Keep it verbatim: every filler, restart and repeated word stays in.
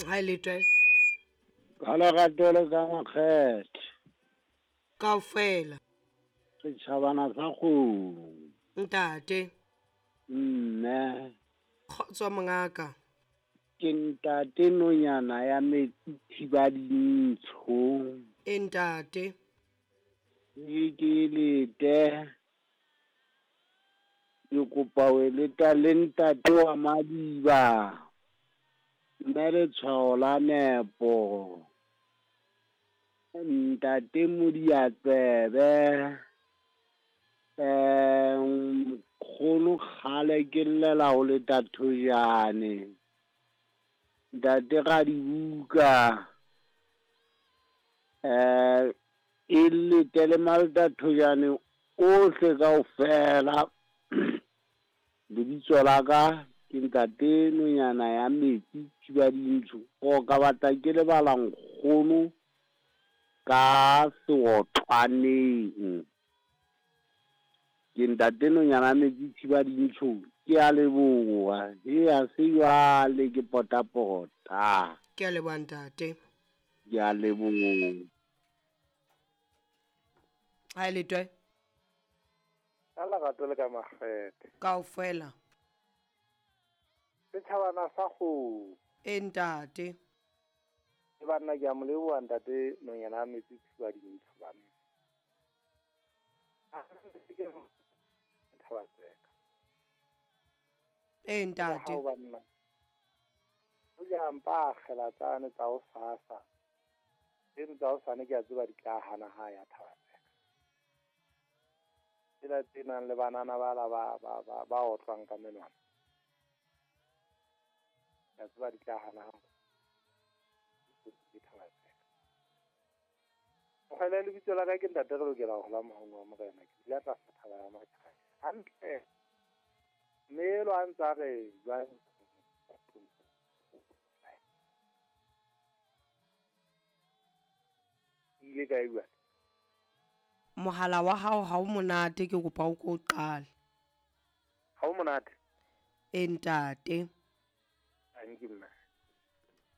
Ha e letwe. Ka lerato le ka makgethe. Kaofela. Setjhabana sa kgomo. Ntate. Mme. Kgotso mongaka. Ke ntate nonyana ya metsi thiba dintsho. E ntate. Ke ke lete. Ke kopa ho leta le ntate wa Madiba. Mme letshwao la nepo. Ntate Modiatsebe. Eh nkgono kgale ke llela ho leta thojane. Ntate Radibuka. Eh e lete le malta thojane ohle kaofela. Lebitso la ka ke ntate nonyana ya metsi thiba dintsho. O ka batla ke lebala nkgono ka seotlwaneng. Ke ntate nonyana ya metsi thiba dintsho. Ke a leboha. He a se jwale ke potapota. Ke a leboha ntate. Ke a leboha. Ha e letwe. Ka lerato le ka makgethe. Kaofela. Setjhabana sa kgomo. E ntate. E banna ke a mo leboha ntate nonyana ya metsi thiba dintsho banna. Thaba tseka. E ntate. Ha banna. O ja mpa akgela tsane tsa ho sasa. Tseno tsa ho sane ke a tseba di tla hana ha ya thaba tseka. Tsela tse nang le banana ba la ba ba ba ba otlwang ka menwana. Ke a tseba di tla hana ha. Ke thaba tseka. Mokgwele lebitso la ka ke ntate re lokela ho hola mohong wa morena. Ke dula tlasa thaba ya Matjhae. Hantle. Mme lo a ntsa re jwang. Ile kae jwale? Mohala wa hao ha o monate, ke kopa o ko qale. Ha o monate? E ntate. Thank you, mme.